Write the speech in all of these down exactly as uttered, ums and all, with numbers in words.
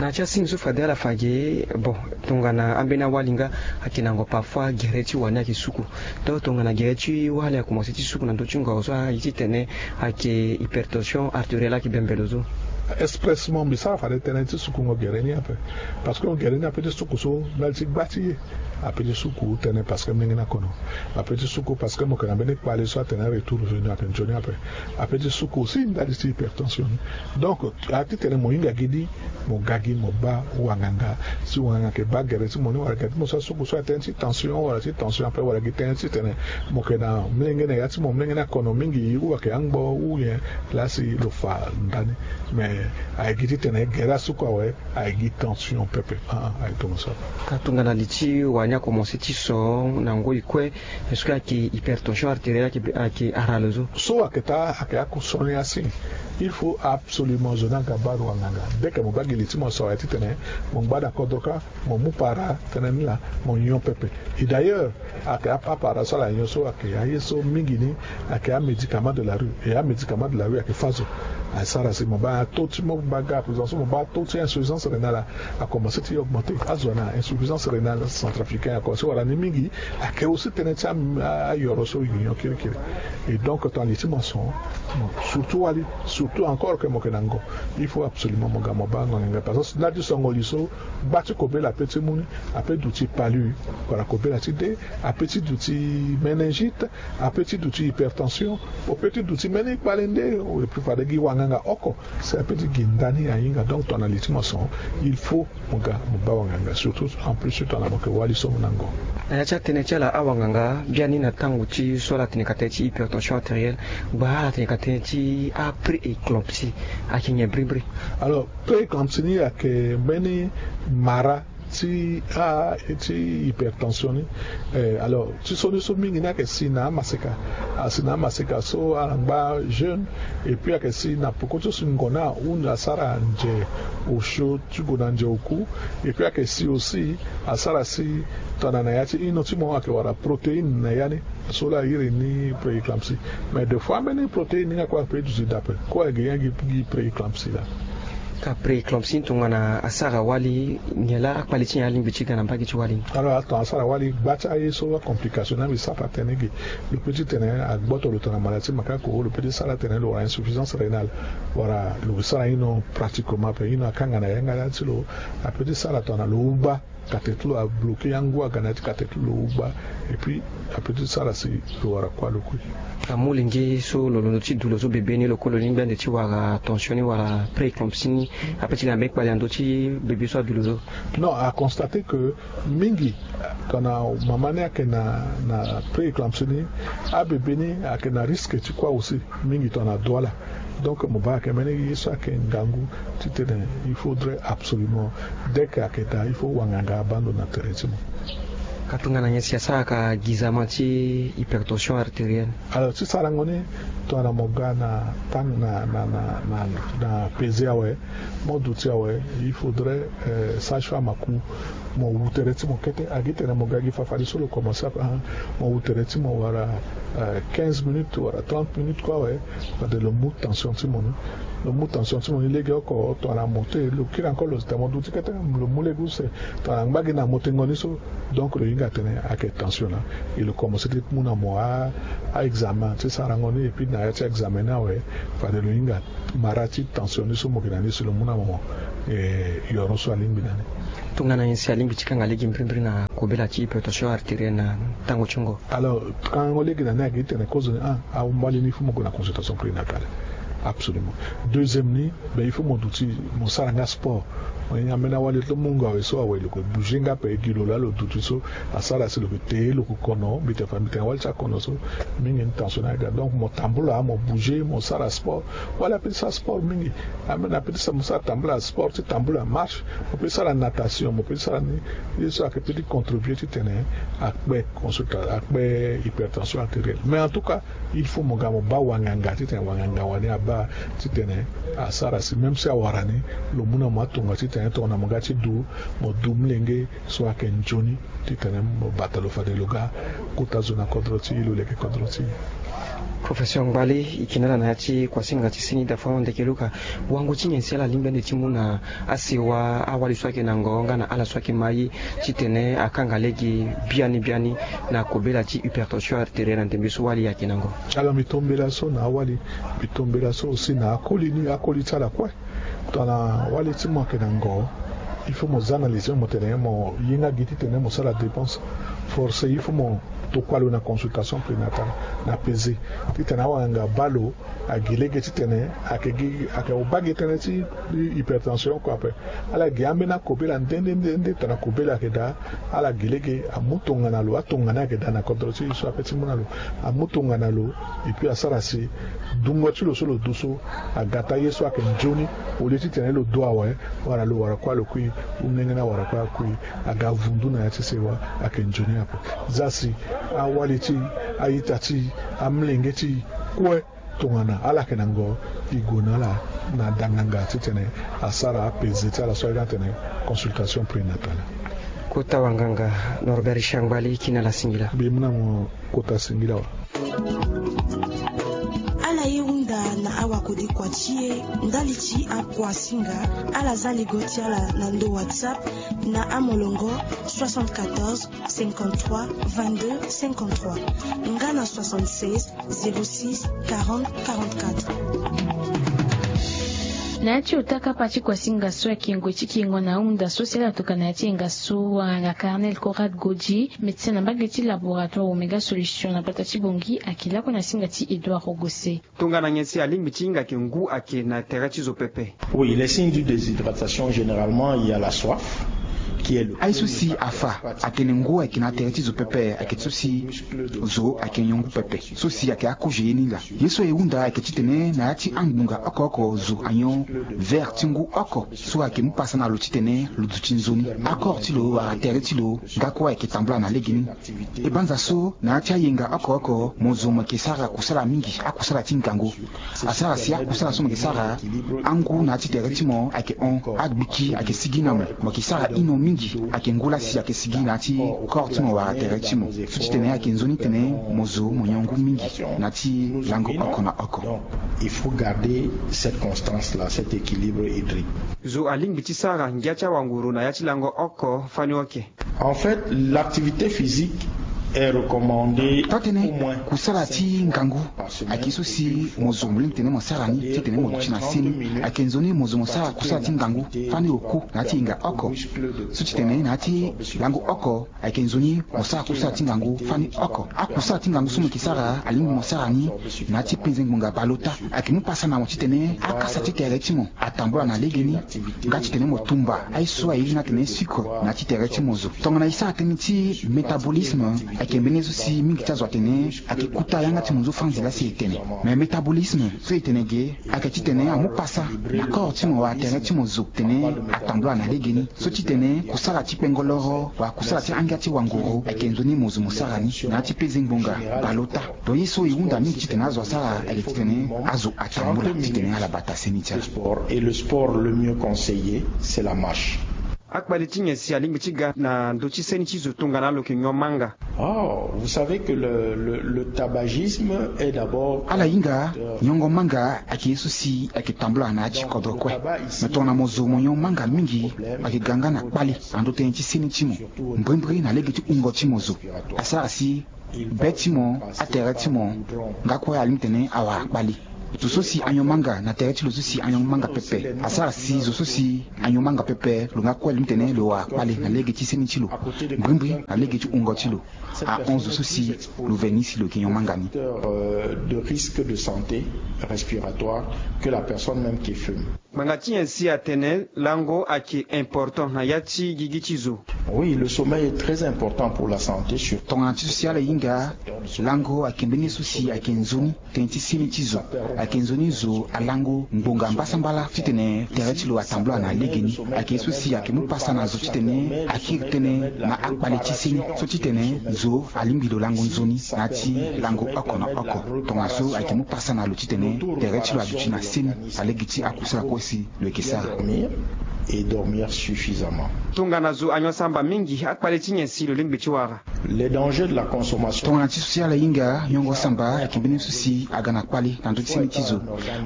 Na ya ti asingi so fade ala fa ge, bon, tongana ambeni awali nga ayeke na ngo, parfois gere ti wani ayeke suku. Donc tongana gere ti wali akomanse ti suku na ndö ti ngo so aye titene ayeke hypertension artérielle ayeke bembe lo so. Expressement mbi sara fade tënë ti suku ngo gere ni ape. Parce que ngo gere ni ape ti suku so ndali ti gba ti ye. Ape ti suku tënë parce que molenge ni akono. Ape ti suku parce que mo yeke na mbeni kpale so atene retour venu ayeke nzoni ape. Ape ti suku aussi ndali ti hypertension ni. Donc a titene mo hinga gi ni, mo ga gi mo baa wanganga. Si wanganga ayeke baa gere ti mo ni wala gere ti mo so asuku so atënë ti tension wala ti tension ape wala gi tënë titene mo yeke na molenge na ya ti mo, molenge ni akono mingi ou ayeke angbo ou nyen, laa si lo fa ndani. Mais ayeke gi titene gere asuku awe, ayeke gi tension pepe. Ah, ah, ayeke tongaso. Ka tongana li ti wani akomanse ti so na ngoi kue, est-ce que ayeke hypertension artérielle ayeke, ayeke ara lo so? So ayeke taa, ayeke ako so ni asi. Il faut absolument zo ni aga baa lo wanganga. Dès que mo baa gi li ti mo so awe titene mo ngba na kodro kâ, mo mu para tënë ni laa, mo nyon pepe. Et d'ailleurs ayeke a, apara so ala nyon so ayeke aye so mingi ni ayeke amédicament de la rue. Et amédicament de la rue ayeke fâ zo. Asara si mo baa taux ti mo baa ga à présent so mo baa taux ti insuffisance rénale akomanse ti augmenter. Azo na insuffisance rénale centrafricaine akomanse wara ni mingi. Ayeke aussi tënë ti a, a, ayoro so e nyon kirikiri. Et donc tongana li ti mo ason, surtout wali, surtout encore que mo yeke na ngo, il faut absolument mo ga mo baa ngonga parce que na ti songo li so gba ti kobela ape ti mu ni, ape duti palu, wala kobela ti de, ape ti duti méningite, ape ti duti hypertension, ape ti duti mbeni kpale nde. Et puis fade gi wanganga oko si ape ti gi ndani ahinga. Donc tongana li ti mo ason, il faut mo ga mo baa wanganga, surtout en plus tongana mo yeke wali so mo na ngo. Na ya ti atënë ti ala awanganga biani na tango ti so ala tene ka tënë ti hypertension artérielle, gba ala tene ka tënë ti apré-éclampsie, ayeke nyen brimbri? Alors, prééclampsie ni ayeke mbeni mara ti, ah, ti hypertension ni. Eh, alors ti so ni so mingi ni ayeke si na amaseka. Asi na amaseka so ala ngba jeûne. Et puis ayeke si na peko ti so si ngon ni ahunda asara nze osio ti gue na nze oku. Et puis ayeke si aussi asara si tongana na ya ti ino ti mo ayeke wara protéine na ya ni. So laa a iri ni prééclampsie. Mais des fois ambeni protéine ni nga kue ape duti daa ape. Kue ayeke gi prééclampsie laa. Ka prééclampsie ni tongana asara wali, nyen laa akpali ti nyen alingbi ti ga na mbage ti wali ni? Alors atongana asara wali, gba ti aye so acomplication ni mbi sara atene ge. Lo peut ti tene agboto lo tongana mala ti makako, lo peut ti sara atene lo wara insuffisance rénale, wala lo sara ino pratiquement ape, ino akanga na yanga ti lo. A peut ti sara tongana lo ugba, kate ti lo abloqué, angu aga na ya ti kate ti lo ugba. Et puis a peut ti sara si lo wara kuâ lo kue. Amolenge so lo londo ti du lo so bebe ni, lo kue lo lingbi ande ti wara tension ni wala prééclampsie ni, ape ti ga na mbeni kpali na ndö ti bebe so adu lo so? Non, a constaté que mingi tongana mama ni ayeke na, na prééclampsie ni, abebe ni ayeke na risque ti kuâ aussi. Mingi tongana douala. Donc mo baa ayeke mbeni ye so ayeke ngangu titene il faudrait absolument, dès que ayeke daa, il faut wanganga abaa ndo na tere ti mo. Ka tongana nyen si asara ka gizama ti hypertension artérielle? Alors ti sarango ni, tongana mo ga na tang na, na, na, na, na pese awe, mo duti awe, il faudrait, euh, sage-femme aku mo wu tere ti mo kete. Agi tene mo ga gi fafadeso lo commencé ape, ah, mo wu tere ti mo wala, euh, quinze minutes wala trente minutes kue awe. Fade lo mu tension ti mo ni. Lo mu tension ti mo ni legeoko, tongana mo te lo kiri encore lo zi tene mo duti kete, lo mu lege use. Tongana ngba gi na mo tengo ni so, donc lo hinga atene ayeke tension laa. E lo commencé ti mu na mo a, a examen ti sarango ni, et puis na ya ti examen ni awe, fade lo hinga mara ti tension ni so mo yeke na ni si lo mu na mo, eh, yoro so alingbi na ni. Tongana nyen si alingbi ti kanga lege mbirimbiri na kobela ti hypertension artérielle na tango ti ngo? Alors kangango lege na ni ayeke titene kozo ni, ah, ahumbali ni il faut mo gue na consultation prénatale. Absolument. Deuxième ni, ben il faut mo duti mo sara nga sport. Mo hinga ambeni awali ti mungo awe so awe lo yeke bouger nga ape, gi lo laa lo duti so asara si lo yeke te, lo yeke kono, mbi tene fa mbi tene awali ti akono so mingi ni tension ni aga. Donc mo tambula, mo bouger, mo sara sport. Wala ape ti sara sport mingi. Ambeni ape ti sara, mo sara tambula sport ti tambula, marche. Mo peut ti sara natation, mo peut ti sara ni. Ye so ayeke peut ti contribuer titene akpe consulta, akpe hypertension artérielle. Mais en tout cas il faut mo ga mo baa wanganga titene wanganga wani abaa titene asara si même si awara ni, lo mu na mo atonga titene tongana mo ga ti du, mo du molenge so ayeke nzoni titene mo bata lo fade lo ga kota zo na kodro ti e, lo leke kodro ti e. Professeur Ngbali, e yeke na ala na ya ti kuasinga ti seni dafa ndeke luka. Wango ti nyen si ala lingbi ande ti mu na asewa awali so ayeke na ngo nga na ala so ayeke ma ye titene akanga lege biani biani na kobela ti hypertension artérielle na ndembe so wali ayeke na ngo? Ala, mbi tombela so na awali, mbi tombela so aussi na akoli ni, akoli ti ala kue. Tongana wali ti mo ayeke na ngo, il faut mo za na lizio mo tene mo ye nga gi titene mo sara dépense. Forcé il faut mo tokua lo na consultation prénatale, na pese, titene awanga baa lo agi lege titene ayeke gi, ayeke baa gi tënë ti hypertension oko ape. Ala gi ambeni akobela nde nde nde nde tongana kobela ayeke daa. Ala gi lege amu tongana lo, atongana ayeke daa na kodro ti e so ape ti mu na lo. Amu tongana lo, et puis asara si dungo ti lo so lo du so aga taa ye so ayeke nzoni, au lieu titene lo du awe, wala lo wara kuâ lo kui, ou nengeni awara kuâ akui, aga vundu na ya ti sewa ayeke nzoni ape. Za si awali ti e, a-ita ti e, amolenge ti e kue, tongana ala yeke na ngo, e gue na ala na danganga titene asara apese ti ala so aye ni atene consultation prénatale. Kota wanganga Norbert Shangbali, e ke na ala singila. Mbi mu na mo kota singila wa. Ala ye hunda na awakodikua ti e ndali ti akuasinga, ala za ligo ti ala na ndo WhatsApp na amolongo soixante-quatorze cinquante-trois vingt-deux cinquante-trois nga na soixante-seize zéro six quarante quarante-quatre. Na ya ti ota kapa ti kuasinga so ayeke ngoi ti kengo na ahunda so si ala toka na ya ti yenga so, wanganga Carnel Conrad Godji, médecin na mbage ti laboratoire Omega Solution na gbata ti Bangui, ayeke lakue na singa ti Edouard Rogose. Tongana nyen si alingbi ti hinga ayeke ngu ayeke na tere ti zo pepe? Oui, les signes d'une déshydratation, généralement il y a la soif, qui est le... Aye so si afa atene ngu ayeke na tere ti zo pepe ayeke so si zo ayeke nyon ngu pepe. So si ayeke akozo ye ni laa. Ye so e hunda ayeke titene na ya ti angbonga oko oko zo anyon verre ti ngu oko so ayeke mu pasa na lo titene lo duti nzoni. Akore ti lo wala tere ti lo nga kue ayeke tambula na legeni. E banza so na ya ti ayenga oko oko mo zo mo yeke sara kusala mingi, akusala ti ngangu. Asara si akusala so mo yeke sara, angu na ya ti tere ti mo ayeke hon, agbiki ayeke sigi na mo. Mo yeke sara ino mingi, ayeke ngu laa si ayeke sigi na ya ti kore ti mo wala tere ti mo. So ti tene ayeke nzoni titene mo zo mo nyon ngu mingi na ya ti lango oko na oko. Donc il faut garder cette constance là, cet équilibre hydrique. Zo alingbi ti sara ngia ti awanguru na ya ti lango oko fani oke? En fait, l'activité physique est recommandée. Taa tënë, au moins kusala ti ngangu ayeke so si mo zo mo lingbi titene mo sara ni titene mo duti na seni. Ayeke nzoni mo zo mo sara kusala ti ngangu fani oko na ya ti yenga oko. So ti tene na ya ti lango oko, ayeke nzoni mo sara kusala ti ngangu fani oko. Akusala ti ngangu so mo yeke sara, alingbi mo sara ni na ya ti penze ngbonga baleota. Ayeke mu pasa na mo titene akasa ti tere ti mo atambula na legeni, nga titene mo tumba aye so airi ni atene sucre na ya ti tere ti mo zo. Tongana e sara tënë ti métabolisme, ayeke mbeni ye so si mingi ti azo atene ayeke kuta yanga ti mo nzoni fâ nzila si e tene. Mais métabolisme so e tene ge, ayeke titene amu pasa na kore ti mo wala tere ti mo zo titene atambula na legeni. So ti tene kusala ti kpengo loro wala kusala ti angia ti wanguru ayeke nzoni mo zo mo sara ni na ya ti penze ngbonga baleota. Donc ye so e hunda mingi titene azo asara ayeke titene azo atambula titene ala bata seni ti ala. Sport, et le sport le mieux conseillé, c'est la marche. Akpali ti nyen si alingbi ti ga na ndö ti seni ti zo tongana lo yeke nyon manga? Oh, vous savez que le, le, le tabagisme est d'abord... Ala hinga, nyongo manga ayeke ye so si ayeke tambula na ya ti kodro kue. Me tongana mo zo mo nyon manga mingi, ayeke ga nga na kpale na ndö tënë ti seni ti mo, mbrimbri na lege ti wungo ti mo zo. Asara si be ti mo, atere ti mo, nga kue alingbi titene awara kpale. Zo so si anyon manga na tere ti lo so si anyon manga pepe, asara si zo so si anyon manga pepe lo nga kue alingbi titene lo wara kpale na lege ti seni ti lo, mbrimbri na lege ti wungo ti lo. Ahon zo so si lo veni si lo yeke nyon manga ni. Euh, de risque de santé respiratoire que la personne même qui fume. Ngbanga ti nyen si atene lango ayeke important na ya ti gigi ti zo? Oui, le sommeil est très important pour la santé, surtout... Tongana ti so si ala hinga, lango ayeke mbeni ye so si ayeke nzoni tënë ti seni ti zo. Ayeke nzoni zo alango ngbonga mbasambala titene tere ti lo atambula na legeni. Ayeke ye so si ayeke mu pasa na zo titene akiri tënë na akpale ti seni. So titene zo alingbi lo lango nzoni na ya ti lango oko na oko. Tongaso ayeke mu pasa na lo titene tere ti lo aduti na seni na lege ti akusala kue si lo yeke sara. Dormir et dormir suffisamment. Tongana zo anyon samba mingi akpale ti nyen si lo lingbi ti wara? Les dangers de la consommation. Tongana ti so si ala hinga nyongo samba ayeke mbeni so si aga na kpale na ndö ti seni ti zo.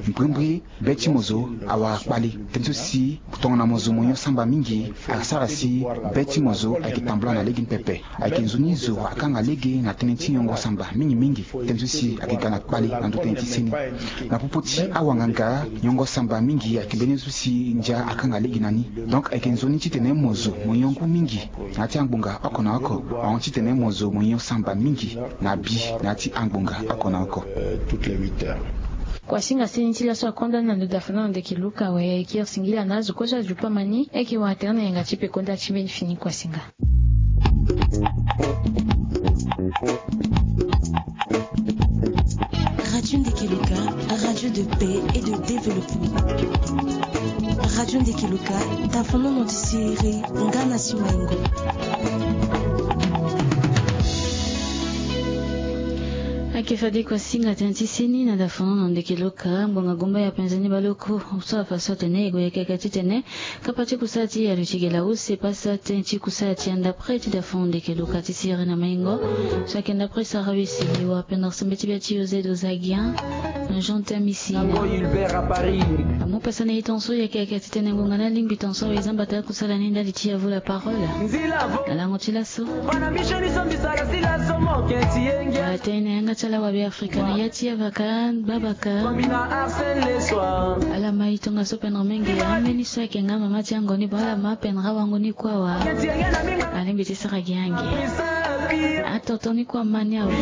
Mbrimbri be ti mo zo awara kpale. Tënë so si tongana mo zo mo nyon samba mingi asara si be ti mo zo ayeke tambula na lege ni pepe. Ayeke nzoni zo akanga lege na tënë ti nyongo samba mingi mingi. Tënë so si ayeke ga na kpale na ndö tënë ti seni. Na popo ti awanganga nyongo samba mingi ayeke mbeni so si ndia akanga lege na ni. Donc ayeke nzoni titene mo zo mo nyon ngu mingi na ya ti angbonga oko na oko. Ahon titene mo zo mo nyon samba mingi na bi na ya ti angbonga oko na oko. Kuasinga seni ti laso akonda ni na ndo dafana na ndeke Luka, we kiri singila na azo kue so azo pamani eke wara tene na yanga ti peko nda ti mbeni fini kuasinga. Radio Ndeke Luka, radio de paix et de développement. Radio Ndeke Luka, dafono na ti sere nga na si maingo. Ake fade kuasinga tënë ti seni na dafono na ndeke Luka, ngbonga gumba ya penza ni baloko so afa so atene e gue yeke yeke titene kapa ti kusala ti ya lo ti gela use pasa tënë ti kusala ti ya ndapre ti dafono ndeke Luka ti sere na maingo. So ayeke ndapre sara wisi liwa pendere sembe ti bia ti José Dozagian na Jean Tamisi. Amu pasa na e tonso yeke yeke titene ngonga ni alingbi tonso awe e zamba ta kusala ni ndali ti ya vo la parole. Na lango ti laso. Atene na yanga ti ala wabe Afrika na ya ti avaka babaka. Ala ma e tongaso pendere menge ambeni so ayeke nga mama ti ango ni bo ala ma pendere awango ni kue awa. Alingbi ti sara gi ange. Atoto ni kue ama ni awe.